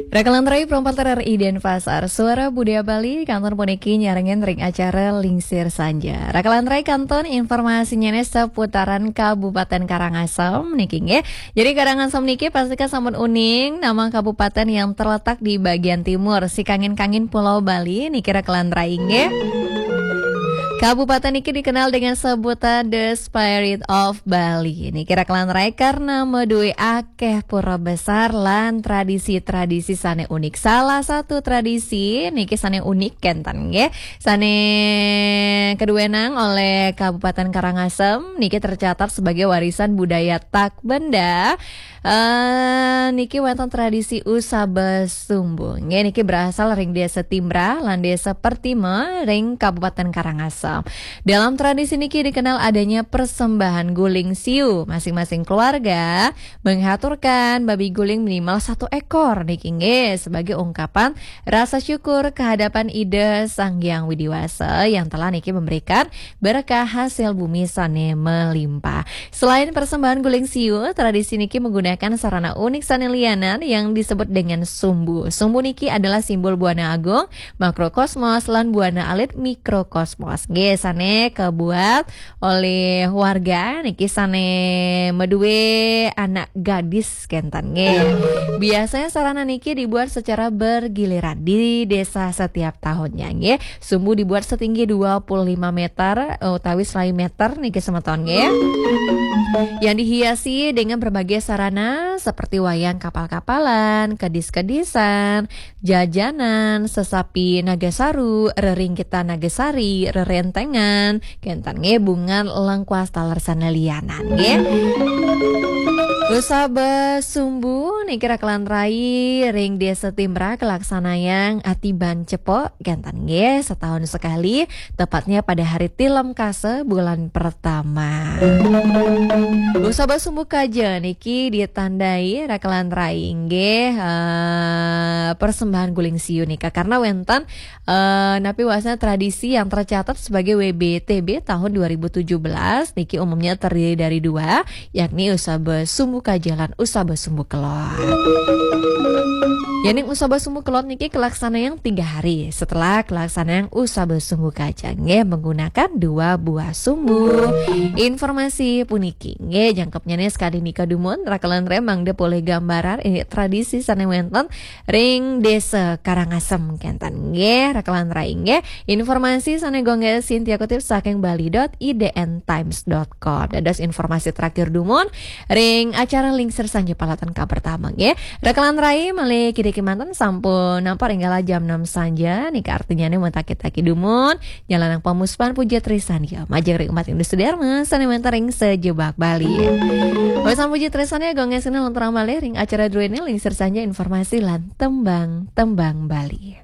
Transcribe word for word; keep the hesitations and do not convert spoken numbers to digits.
Rakalan rai perempat R R I Denpasar, Suara Budaya Bali, kantun puniki nyarengin ring acara Lingsir Sanja. Rakalan rai kantun informasinya nih seputaran Kabupaten Karangasem niki nggih. Jadi Karangasem niki pasti kan sampun uning nama kabupaten yang terletak di bagian timur, si kangin-kangin Pulau Bali niki rakalan rai nggih. Kabupaten niki dikenal dengan sebutan The Spirit of Bali. Niki rakalan rai karena medue akeh pura besar lan tradisi-tradisi sane unik. Salah satu tradisi niki sane unik kenten nggih. Sane keduwenang oleh Kabupaten Karangasem niki tercatat sebagai warisan budaya tak benda. Eh, niki wonten tradisi usaba sumbu. Nggih, niki berasal ring Desa Timbrah lan Desa Pertima ring Kabupaten Karangasem. Dalam tradisi niki dikenal adanya persembahan guling siu. Masing-masing keluarga menghaturkan babi guling minimal satu ekor niki nggih sebagai ungkapan rasa syukur kehadapan Ida Sang Hyang Widiwasa yang telah niki memberikan berkah hasil bumi sane melimpah. Selain persembahan guling siu, tradisi niki menggunakan sarana unik sane lianan yang disebut dengan sumbu. Sumbu niki adalah simbol buana agung, makrokosmos, lan buana alit, mikrokosmos. Nggih, sane kebuat oleh warga niki sane medue anak gadis kenten nggih. Biasanya sarana niki dibuat secara bergiliran di desa setiap tahunnya nggih. Sumbu dibuat setinggi dua puluh lima meter, eh, utawi selawi meter niki semeton nggih. Yang dihiasi dengan berbagai sarana seperti wayang kapal-kapalan, kedis-kedisan, jajanan, sesapi Nagasaru, reringkitan Nagasari, rerentengan, kenten nggih bungan lengkuas taler sane lianan nggih. Usaba sumbu niki rakalan rai ring Desa Timbrah kelaksanayang atiban cepok kenten nggih setahun sekali, tepatnya pada hari Tilem Kasa bulan pertama. Usaba sumbu kaja niki ditandai rakalan rai nggih, eh, persembahan guling siu nika karena wenten, eh, napi wasna tradisi yang tercatat sebagai W B T B tahun dua ribu tujuh belas niki umumnya terdiri dari dua, yakni usaba sumbu kaja lan usaba sumbu kelod. Yening usaba sumbu kelod niki kelaksanayang tiga hari setelah kelaksanayang usaba sumbu kaja nggih menggunakan dua buah sumbu. Informasi puniki nggih jangkepnya nih sekali nika dumun rakalan rai mangda polih gambaran ini tradisi sane wenten ring Desa Karangasem kenten nggih rakalan rai nggih. Informasi sane gongge Cynthia kutip saking bali dot I D N times dot com. Dados informasi terakhir dumun ring acara Lingsir Sanja Palatan K pertama nggih. Rakalan rai malih kidiki manten sampun nampak ring galah jam enam sanja nika artinya nih mentakit-takit dumun nyalanang pamuspan puja trisan ya majeng ring umat Hindu sederma sane wenten ring sejebak Bali. Pamuspan puja trisan ya gongge sini lanturang malih ring acara druene Lingsir Sanja informasi lan tembang-tembang Bali.